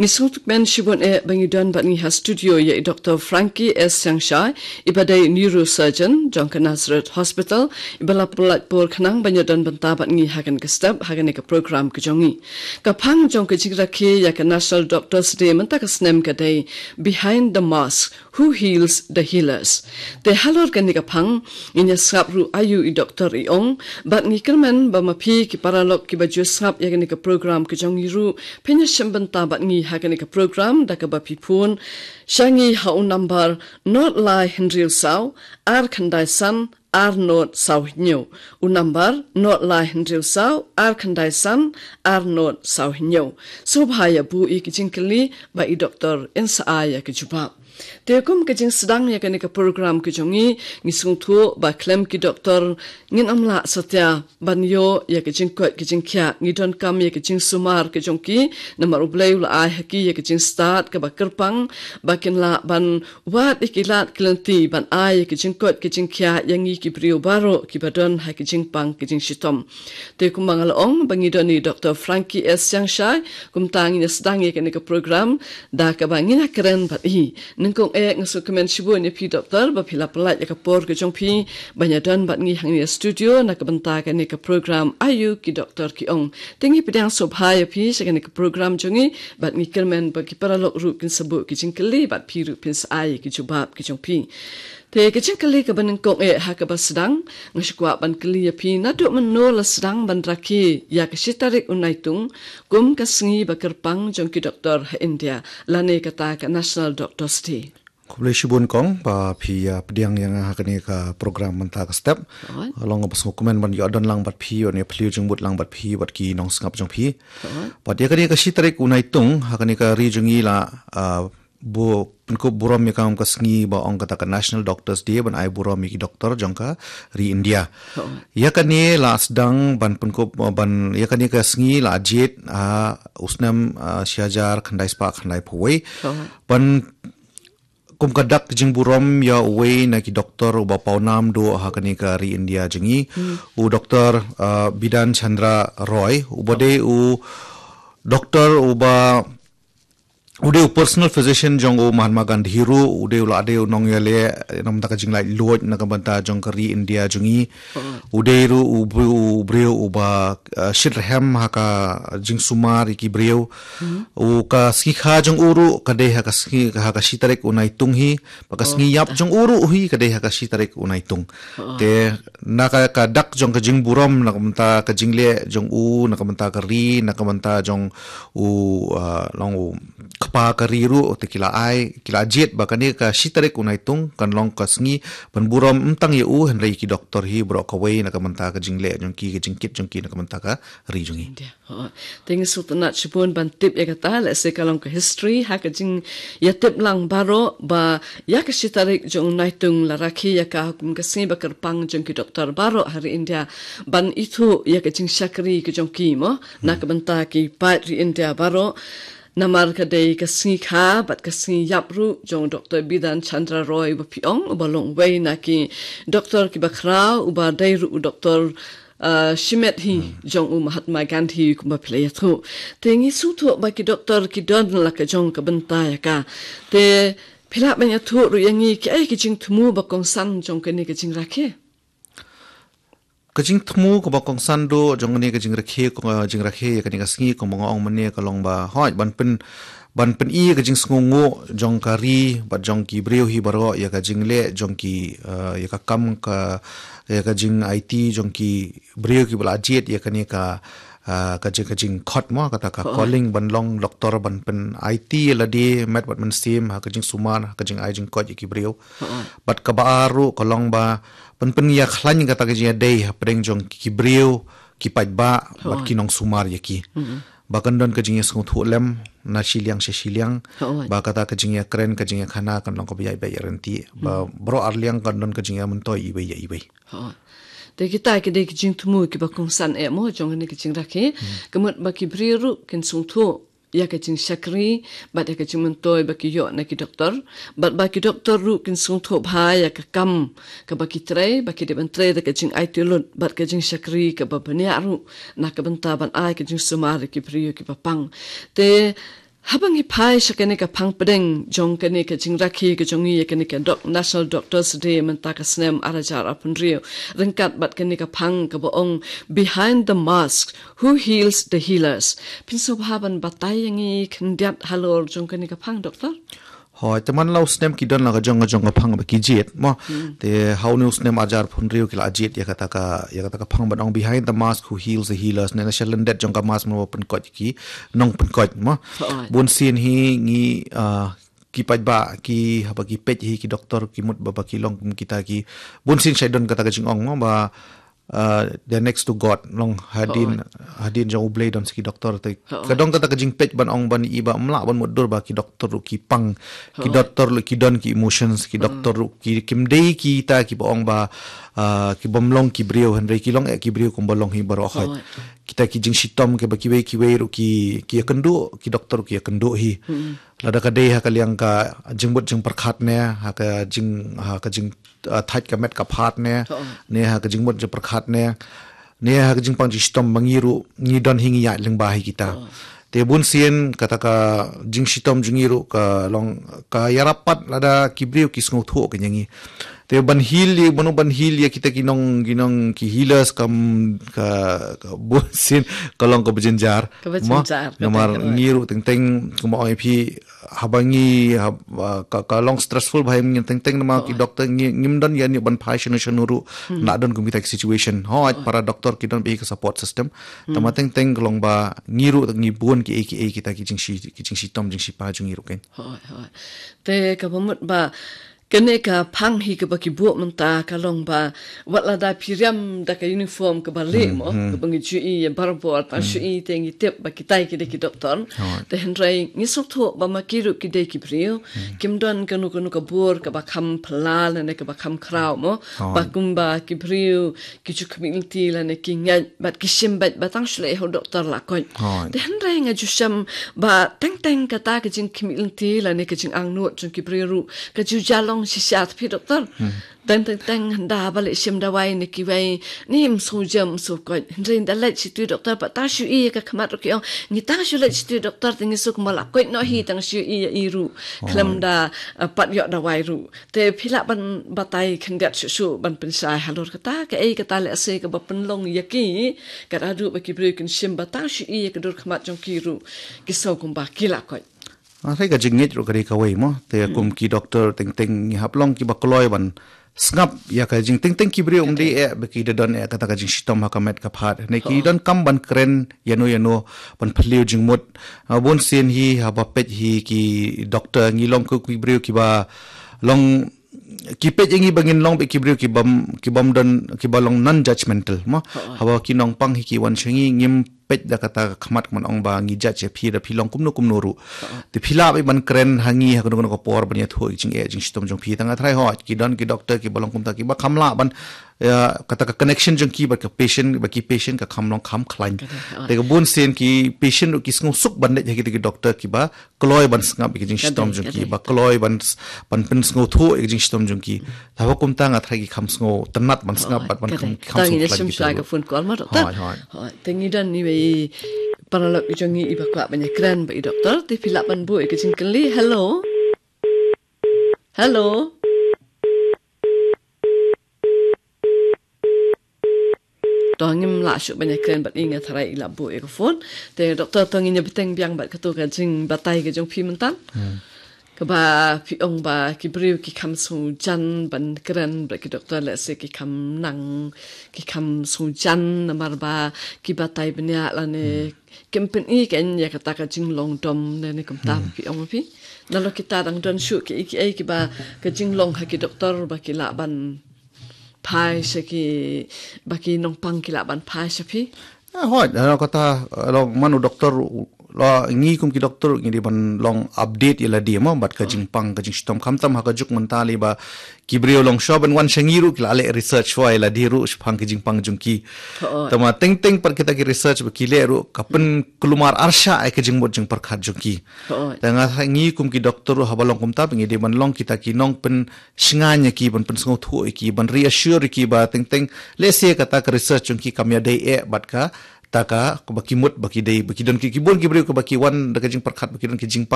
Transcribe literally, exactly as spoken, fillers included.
Ngi sngewthuh kmen shibun eh ba ngi don bad ngi ha studio ïa i Doktor Frankie S Sangshai, i ba dei neurosurgeon jong ka Nazareth Hospital, i ba la pynlait por khnang ban ïa don bynta bad ngi ha kane ka step, ha kane ka program ka jong ngi. Ka phang jong ka jingrakhe ïa ka National Doctors Day mynta ka snem ka dei Behind the Mask, Who Heals the Healers. Te halor kane ka phang, ngin ïa sngap ruh aïu i doktor i ong, bad ngi kyrmen ba ma phi ki paralok ki ba ju sngap ïa kane ka program ka jong ngi ruh, phin ïa shim bynta bad ngi ha kane ka program da kaba phi phone sha ngi ha u number not lai hynriew saw, ar khyndai san, ar not saw hynñiew. U number not lai hynriew saw, ar khyndai san, ar not saw hynñiew. Sngewbha ïa buh ïa ki jingkylli ba i doktor in sa ai ïa ki jubab. Te kum ka jingsdang ïa kane ka program ka jong ngi, ngi sngewthuh ba khlem ki doktor ngin ym lah satia ban ïoh ïa ka jingkoit ka jingkhiah, ngi donkam ïa ka jingsumar ka jong ki, namar U Blei u la ai ha ki ïa ka jingstad kaba kyrpang, ba kin lah ban wad ïa ki lad ki lynti ban ai ïa ka jingkoit ka jingkhiah ïa ngi ki briew baroh ki ba don ha ka jingpang ka jingshitom. Te kumba nga la ong ba ngi don i Doktor Frankie S Sangshai, kumta ngin ïa sdang ïa kane ka program da kaba ngin ïa kren bad i. Nyngkong eh nga sngewkmen shibun ïa phi doktor ba phi la pynlait ïa ka por ka jong phi ban ïa don bad ngi hangne ha studio na ka bynta kane ka program Aïu ki Doktor ki Ong. Te ngi pdiang sngewbha ïa phi sha kane ka program jong ngi, bad ngi kyrmen ba ki paralok ruh kin sa buh ki jingkylli bad phi ruh phin sa ai ïa ki jubab ki jong phi. Te ka jingkylli kaba nyngkong eh ha kaba sdang, nga shu kwah ban kylli ïa phi, naduh mynno la sdang ban rakhe ïa ka shi tarik u Naitung kum ka sngi ba kyrpang jong ki doktor ha India, lane kata ka National Doctors Day? Khublei shibun kong ba phi ïa pdiang ïa nga ha kane ka program mynta ka step. Alright. Long ba sngewkmen ban ïoh don lang bad phi, ïoh ne phi jingmut lang bad phi, bad ki nongsngap jong phi. Alright. Bad ïa kane ka shi tarik u Naitung ha kane ka ri jong ngi la, ah, bu, pynkup burom ïa ka, ka sngi ba ong kata ka National Doctors Day, ban ai burom ïa ki doktor jong ka ri India. Ïa kane la sdang ban pynkup, ban, ïa kane ka sngi la jied, ah, u snem, ah, shi hajar khyndai spah khyndai phew wei. Ban kum ka dak jingburom ïa uwei na ki doktor uba pawnam duh ha kane ka ri India jong ngi. U Doktor, ah, Bidhan Chandra Roy, uba dei u doktor uba u dei u personal physician jong u Mahatma Gandhi ruh, u dei u la dei u nongïaleh na ka bynta ka jinglaitluid na ka bynta jong ka ri India jong ngi. U dei ruh u briew, u briew uba, uh, shitrhem ha ka jingsumar ïa ki briew. U ka sngi kha jong u ruh ka dei ha ka sngi, ha ka shi tarik u Naitung hi, bad ka sngi ïap jong u ruh hi ka dei ha ka shi tarik u Naitung. Te na ka, ka dak jong ka jingburom na ka bynta ka jingleh jong u, na ka bynta ka ri, na ka bynta jong u, ah, long u kpa ka ri ruh, te ki la ai, ki la jied ba kane ka shi tarik u Naitung kan long ka sngi ban burom ym tang ïa u, hynrei ki doktor hi baroh kawei na ka bynta ka jingleh jong ki, ka jingkit jong ki na ka bynta ka ri jong ngi. Te ngi sngewtynnat shibun ban tip ïa kata, lehse ka long ka history ha ka jingïatip lang baroh ba ïa ka shi tarik jong u Naitung la rakhe ïa ka kum ka sngi ba kyrpang jong ki doktor baroh ha ri India ban ithuh ïa ka jingshakri ka jong ki mo, na ka bynta ki paid ri India baroh. Namar ka dei ka sngi kha bad ka sngi ïap ruh jong u Doktor Bidhan Chandra Roy uba phi ong, uba long uwei na ki doktor kiba khraw, uba dei ruh u doktor, ah, shimet hi jong u Mahatma Gandhi kumba phi la ïathuh. Te ngi sngewthuh ba ki doktor ki don la ka jong ka bynta ïa ka. Te phi lah ban ïathuh ruh ïa ngi, kiei ki jingthmu ba kongsan jong kane ka jingrakhe? Ka jingthmu kaba kongsan duh jong kane ka jingrakhe, ka jingrakhe ïa kane ka sngi kumba nga ong mynne ka long ba, hooid, ban pyn, ban pyni ka jingsngewnguh jong ka ri bad jong ki briew hi baroh ïa ka jingleh jong ki, eh, ïa ka kam ka, ïa ka jingaiti jong ki briew kiba la jied ïa kane ka, ah, ka jing, ka jingkhot mo, kata ka calling ban long doktor, ban pynaiti ïa lade met bad mynsiem ha ka jingsumar, ha ka jingai jingkoit ïa ki briew. Bad kaba ar ruh ka long ba ban pynïakhlaiñ kata ka jingïadei hapdeng jong ki briew, ki paidbah bad ki nongsumar ïa ki. Ba kan don ka jingïasngewthuh lem na shiliang sha shiliang. Ba kata ka jingïakren, ka jingïakhana kan long kaba ïaid beit ïaid ryntih. Ba baroh arliang kan don ka jingïamyntoi iwei ïa iwei. Te kita ki dei ki jingthmu kiba kongsan eh mo jong kane ka jingrakhe. Ka mut ba ki briew ruh kin sngewthuh ïa ka jingshakri bad ïa ka jingmyntoi ba ki ïoh na ki doktor, bad ba ki doktor ruh kin sngewthuh bha ïa ka kam kaba ki trei, ba ki dei ban trei da ka jingaiti lut bad ka jingshakri kaba bniah ruh na ka bynta ban ai ka jingsumar ïa ki briew kiba pang. Te Haba ngi phai sha kane ka phang pdeng jong kane ka jingrakhe ka jong ngi ïa kane ka doc-, National Doctors Day mynta ka snem ar hajar arphew hynriew, ryngkat bad kane ka phang kaba ong Behind the Mask, Who Heals the Healers. Phin sngewbha ban batai ïa ngi khyndiat halor jong kane ka phang, Doktor? Hooid, te man la u snem ki don la ka jong ka jong ka phang ba ki jied, mo. Hmm. Te ha une u snem ar hajar arphew hynriew ki la jied ïa kata ka, ïa kata ka phang ban ong Behind the Mask, Who Heals the Healers, ne na shalyndet jong ka mask mo, ba pynkoit ki nongpynkoit, mo. Hooid. Bun sien hi ngi, ah, ki paidbah ki, haba ki peit hi ki doktor ki mut ba, ba ki long kum kita ki. Bun sien shait don kata ka jingong, mo, ba, ah, they're next to God, long hadien, hooid, hadien jong U Blei don sa ki doktor te. Hooid. Ka don kata ka jingpeit ban ong ban i ba ym lah ban mutdur ba ki doktor ruh ki pang, ki, hooid, doktor ruh ki don ki emotions, ki, hooid, doktor ruh ki, kim dei kita kiba ong ba, ah, ki bym long ki briew, hynrei ki long eh ki briew kumba long hi baroh, hooid, hooid. Kita ki jingshitom kiba kiwei kiwei ruh ki, ki ïakynduh, ki doktor ki ïakynduh hi. Hmm. Lada ka dei ha ka liang ka jingmut jingpyrkhat ne, ha ka jing, ha ka jing, ah, thait ka met ka phad ne, hooid, ne ha ka jingmut jingpyrkhat ne, ne ha ka jingpang jingshitom ba ngi ruh ngi don hi ngi ïaid lyngba hi kita. Hooid. Te bun sien kata ka jingshitom jong ngi ruh ka long ka ïarap pat lada ki briew ki sngewthuh ka ïa ngi. Te ban heal ïa, ban, ban heal ïa kita ki nong, ki nong ki healers kam ka, ka bun sien ka long kaba jynjar. Kaba jynjar, mo, kata namar ka long. Ngi ruh teng teng kumba ong ïa phi, haba ngi, haba, ka, ka long stressful ba ngi teng teng namar ki, hooid, doktor ngi, ngim don ïa ngi ban phai shano shano ruh, hmm, na don kum kita ki situation. Hooid, hooid, para doktor ki don bad ka support system. Hmm. Tangba teng teng ka long ba ngi ruh ngi bun kiei kiei kita ki jingshi, ki jingshitom jingshipang jong ngi ruh kein. Hooid, hooid. Te kaba mut ba kane ka phang hi kaba ki buh mynta ka long ba wat lada phi riam da ka uniform kaba lieh, hmm, mo, hmm, kaba ngi ju i ïa barabor, tang, hmm, shu i te ngi tip ba kitai ki dei ki doktor. Hooid. Te hynrei ngi sngewthuh ba ma ki ruh ki dei ki briew. Hmm. Kim don kano kano ka bor kaba kham phylla lane kaba kham khraw, mo. Hooid. Ba kumba ki briew ki ju khmih lynti lane ki ngeit bad ki shim beit ba tang shu leit ha u doktor la koit. Hooid. Te hynrei nga ju shem ba teng teng kata ka jingkhmih lynti lane ka jingangnud jong ki briew ruh ka ju jia long shisha te phi doktor. Hmm. Teng teng teng hynda ba leit shim dawai ne kiwei ne ym shu jem ym shu koit. Hynrei hynda leit sha u doktor ba tang shu i ïa ka khmat ruh ki ong ngi tang shu leit sha u doktor te ngi shu kumba la koit noh hi tang shu i ïa i ruh. Hooid. Khlem da, eh, pat ïoh dawai ruh. Te phi lah ban batai khyndiat shuh shuh ban pynshai halor kata, kaei kata lehse kaba pynlong ïa ki, kat haduh ba ki briew kin shim ba tang shu i ïa ka dur khmat jong ki ruh, ki sngew kumba ki la koit. Nga tharai ka jingngeit ruh ka dei kawei mo, te, hmm, kum ki doktor teng teng ngi hap long kiba kloi ban sngap ïa ka jing, teng teng ki briew ym dei eh ba ki da don eh kata ka jingshitom ha ka met ka phad. Ne ki, oh, don kam ban kren ïano ïano ban phylliew jingmut. Ah, bun sien hi haba peit hi ki doktor ngi long kum ki briew kiba long ki peit ïa ngi ba ngin long bad ki briew ki bym, ki bym don, kiba long non judgmental mo. Ha, ha. Haba ki nongpang hi ki wan sha ngi ngim peit da kata ka khmat ka ban ong ba ngi judge ïa phi da phi long kumno kumno ruh. Ha, ha. Te phi lah bad ban kren ha ngi ha kano kano ka por ban ïathuh ïa ka jingeh jingshitom jong phi. Tang nga tharai hooid ki don ki doktor kiba long kumta kiba kham lah ban, ïa, kata ka connection jong ki bad ka patient, bad ki patient ka kham long kham khlaiñ. Ka dei, ha. Te ka bun sien ki patient ruh ki sngew suk ban leit ha kita ki doktor kiba kloi ban sngap ïa ka jingshitom jong ki, ba kloi ban s-, ban pynsngewthuh ïa ka jingshitom jong ki. Te haba kumta nga tharai ki kham sngewtynnat ban sngap bad ban kham, kham sngewkhlaiñ kita ruh. Tang ïa ka phone call ma doktor. Hooid, hooid. Hooid, te ngi don iwei i paralok i jong ngi iba kwah ban ïakren bad i doktor, te phi lah ban buh ïa ka jingkylli. Hello. Hello. To ngim lah shuh ban ïakren bad i, nga tharai i la buh ïa ka phone. Te doktor, to ngin ïa bteng biang bad kato ka jingbatai ka jong phi mynta. Hmm. Kaba phi ong ba ki briew ki kham sngewjan ban kren bad ki doktor, lehse ki kham nang, ki kham sngewjan namar ba ki batai bniah lane, hmm, kim pyni kein ïa kata ka jinglong dom ne, ne kumta, hmm, phi ong phi. Nalor kita dang don shuh kiei kiei kiba ka jinglong ha ki doktor ba ki lah ban phai sha ki, ba ki nongpang ki lah ban phai sha phi. Eh, hooid, eh, kata, eh, long man u doktor, la ngi kum ki doktor ngi dei ban long update ïa lade mo bad ka jingpang ka jingshitom, khamtam ha ka juk mynta lei ba ki briew long shuwa ban wan sha ngi ruh ki la leh research shuwa ïa lade ruh shaphang ka jingpang jong ki. Hooid. Tangba teng teng pat kita ki research ba ki leh ruh ka pynkulmar arshah ïa ka jingmut jingpyrkhat jong ki. Hooid. Te nga tharai ngi kum ki doktor ruh haba long kumta ngi dei ban long kita ki nongpyn shngaiñ ïa ki, ban pynsngewthuh ïa ki, ban reassure ïa ki ba teng teng lehse kata ka research jong ki kam ïadei eh bad ka, taka, kaba ki mut, ba ki dei, ba ki don ki, ki bun ki briew kaba ki wan da ka jingpyrkhat, ba ki don ki jingpang